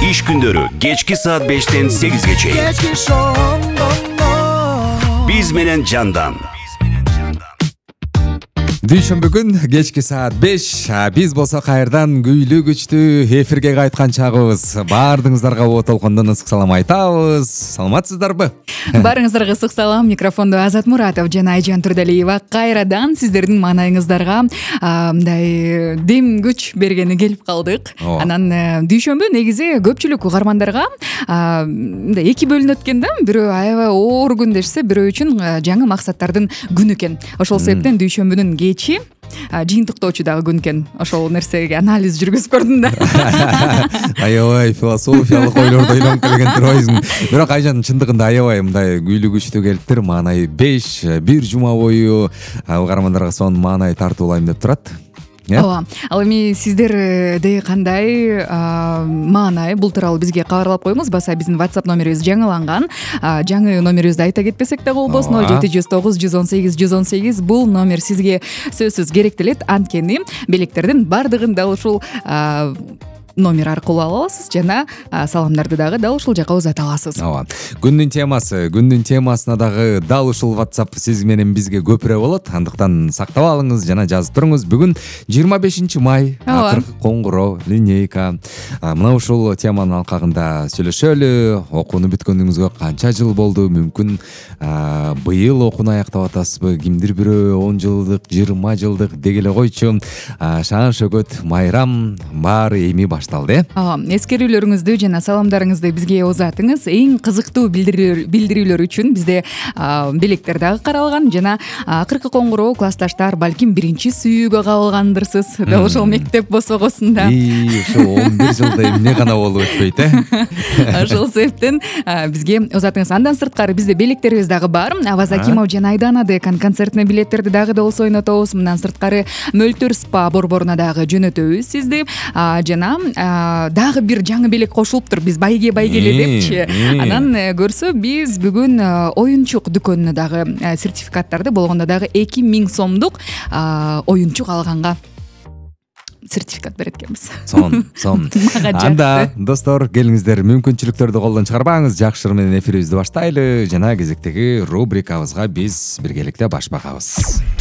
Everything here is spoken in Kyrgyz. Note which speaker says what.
Speaker 1: Иш күндөрү кечки саат 5-тен 8-ге чейин. Биз менен Жандан.
Speaker 2: Дүйшөмбү күн кечки саат 5. Биз болсо кайрадан күйлүү күчтүү эфирге кайткан чагыбыз. Баардыгыңыздарга о толкондон ысык салам айтабыз. Саламатсыздарбы?
Speaker 3: Баарыңыздарга ысык салам. Микрофондо Азат Муратов жана Айжан Турдалиева кайрадан сиздердин маанайыңыздарга мындай дем күч бергени келип калдык. Анан дүйшөмбү негизи көпчүлүк угармандарга мындай эки бөлүнөт экен да. Бирөө аябай оор күн дешсе, бирөө үчүн жаңы максаттардын күнү экен. Ошол себептен дүйшөмбүнүн кечи жыйынтыктоочу дагы күн экен. Ошол нерсеге анализ жүргүзүп көрдүм да.
Speaker 2: Аябай философиялык ойлорду ойлонуп келген турбайсың. Бирок Айжан чындыгында аябай мындай күйлүү күчтүү келиптир. Маанай 5 бир жума бою угармандарга сонун маанай тартуулайм деп турат.
Speaker 3: Ооба. Ал эми сиздерде кандай маанай бул тууралуу бизге кабарлап коюңуз. Баса биздин WhatsApp номерибиз жаңыланган. Жаңы номерибизди айта кетпесек да болбосун. 0709 118 118. Бул номер сизге сөзсүз керектелет. Анткени белектердин бардыгын дал ушул номер аркылуу ала аласыз жана саламдарды дагы дал ушул жака узата аласыз.
Speaker 2: Ооба. Күндүн темасына дагы дал ушул WhatsApp сиз менен бизге көпүрө болот. Андыктан сактап алыңыз жана жазып туруңуз. Бүгүн 25 май, акыркы коңгуроо, линейка. Мына ушул теманын алкагында сүйлөшөлү. Окууну бүткөнүңүзгө канча жыл болду? Мүмкүн быйыл окууну аяктап атасызбы? Кимдир бирөө 10 жылдык, 20 жылдык дегеле койчу. Шаан шөгөт, майрам баары эми башталды.
Speaker 3: Эскерүүлөрүңүздү жана саламдарыңызды бизге узатыңыз. Эң кызыктуу билдирүүлөр үчүн бизде белектер дагы каралган жана акыркы коңгуроо классташтар балким биринчи сүйүүгө кабылгандырсыз. Дал ошол мектеп босогосунда.
Speaker 2: Ошо 11 жылда эмне гана болуп өтпөйт,
Speaker 3: Ошол себептен бизге узатыңыз. Андан сырткары бизде белектерибиз дагы бар. Аваз Акимов жана Айдана Декан концертине билеттерди дагы болсо ойнотобуз. Мындан сырткары Мөлтөр спа борборуна дагы жөнөтөбүз сизди. Жана дагы бир жаңы белек кошулуптур. Биз байгеле депчи. Анан көрсө биз бүгүн оюнчук дүкөнүнө дагы сертификаттарды болгондо дагы 2000 сомдук оюнчук алганга сертификат берет экенбиз.
Speaker 2: Сон. Анда достор, келиңиздер, мүмкүнчүлүктөрдү колдон чыгарбаңыз. Жакшы менен эфирибизди баштайлы жана кезектеги рубрикабызга биз биргеликте баш багабыз.